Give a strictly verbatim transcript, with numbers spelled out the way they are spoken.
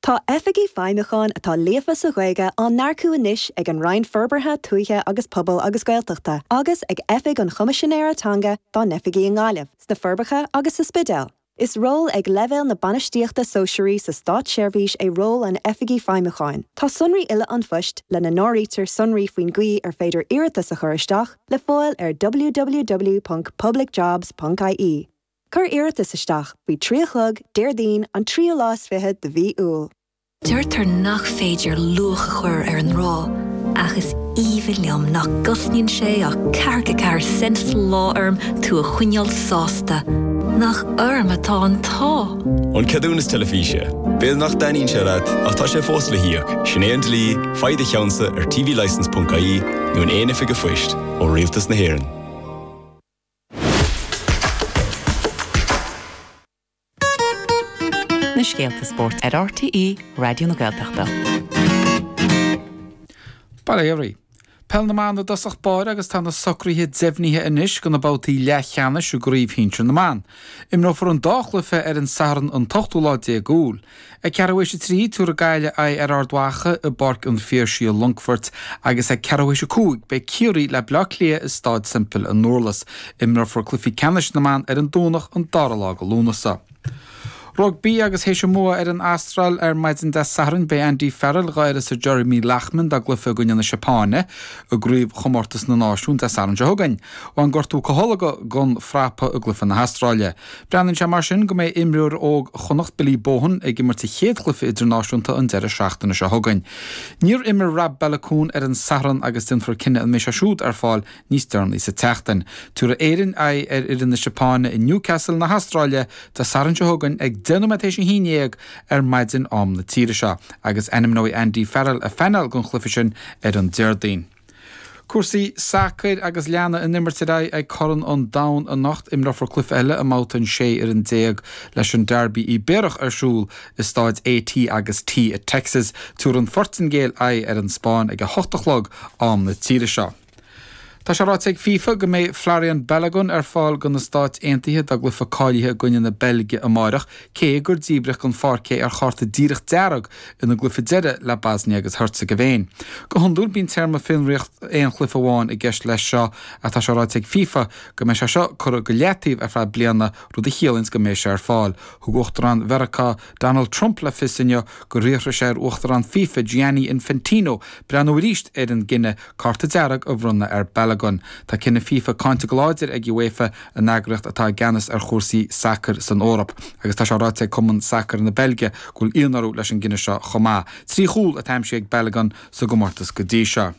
Tá oifigigh feidhmiúcháin atá líofa sa Ghaeilge á n-earcú anois ag an Roinn Forbartha Tuaithe agus Pobail agus Gaeltachta, agus ag Oifig an Choimisinéara Teanga dá n-oifigí i nGaillimh, sna Forbacha agus sa Spidéal. Is ról ag leibhéal na bainistíochta sóisearaí sa státseirbhís é ról an oifigigh feidhmiúcháin. Tá sonraí uile an phoist lena n-áirítear sonraí faoin gcaoi ar féidir iarratas a chur isteach le fáil ar www.publicjobs.ie. Cuir iarratas isteach faoi trí a chlog Déardaoin an tríú lá is fiche de mhí Iúil. Deirtear nach féidir luach a chur ar an ngrá, ach is aoibhinn liom nach gcosnaíonn sé ach ceathracha ceathair cent sa lá orm tú a choinneáil sásta. Nach orm atá an t-ádh. An ceadúnas teilifíse. B'fhéidir nach dtaitníonn sé leat ach tá sé fós le híoc, sin é an dlí, faigh do cheannsa ar tvlicence.ie nó in aon oifig an phoist ó Rialtas na hÉireann. Na scéalta spóirt ar RTÉ Raidió na Gaeltachta. Bail ó Dhia oraibh. Peil na mBan i dtosach báire agus tá na socruithe deimhnithe anois do na babhtaí leathcheannais i gCraobh Shinsir na mBan. Imreofar an dá chluiche ar an Satharn an t-ochtú lá déag Iúil. Ag ceathrú théis a trí, tabharfaidh Gaillimh aghaidh ar Ard Mhacha i bPáirc an Phiarsaigh i Longfort agus ag ceathrú théis a cúig beidh Ciarraí le Baile Átha Cliath i Staid Semple i nDurlas. Imreofar cluichí ceannais na mban ar an Domhnach an dara lá de Lúnasa. Rugbaí agus théis an mbua ar an Astráil ar maidin Dé Sathairn beidh Andy Farrell dhá uireasa Jeremy Loughman dá gcluiche i gcoinne na Seapáine i gCraobhchomórtas na Náisiún Dé Sathairn seo chugainn. Bhain gortú Catholga den frapa i gcluiche na hAstráile. Breathnaíonn sé mar sin go mbeidh imreoir óg Chonnacht Billy Bohan ag imirt a chéad chluiche idirnáisiúnta an deireadh seachtaine seo chugainn. Níor imir Rob Baloucoune ar an Satharn agus déanfar cinneadh an mbeidh sé siúd ar fáil níos deireanaí sa tseachtain. Tabharfaidh Éirinn aghaidh ar fhoireann na Seapáine i Newcastle na hAstráile Dé Sathairn seo chugainn ag deich nóiméad théis a haon dhéag ar maidin am na tíre seo agus ainmneoidh Andy Farrell a phainéal don chluiche sin ar an Déardaoin. Cúrsaí sacair agus leanfaidh an imirt ar aghaidh ag Corn an Domhain anocht. Imreofar cluiche eile i mbabhta an sé fhoireann déag leis an Derby Ibéarach ar siúl i Stáid AT agus T i Texas. Tabharfaidh an Phortaingéil aghaidh ar an Spáinn ag a hocht a chlog am na tíre seo. Tá sé ráite ag FIFA go mbeidh Folarin Balogun ar fáil do na Stáit Aontaithe dá gcluiche cáilithe i gcoinne na Beilge amáireach, cé gur díbríodh den pháirc é ar chárta díreach dearg ina gcluiche deiridh le Bosnia agus Hercegovina. Go hiondúil bíonn téarma fionraíocht aon chluiche amháin i gceist leis seo ach tá sé ráite ag FIFA go mbeidh sé seo curtha go leataobh ar feadh bliana, rud a chiallaíonns go mbeidh sé ar fáil. Thug Uachtarán Mheiriceá Donald Trump le fios inniu gur fhiafraigh sé ar Uachtarán FIFA Gianni Infantino breathnú arís ar an gcinneadh cárta dearg a bhronnadh ar Balogun. Tá cinneadh FIFA cáinte go láidir ag UEFA, an eagraíocht atá i gceannas ar chúrsaí sacair san Eoraip, agus tá sé ráite ag Cumann Sacair na Beilge go bhfuil ionadh orthu leis an gcinneadh seo chomh maith. Trí chúl atá aimsithe ag Balogun sa gcomórtas go dtí seo.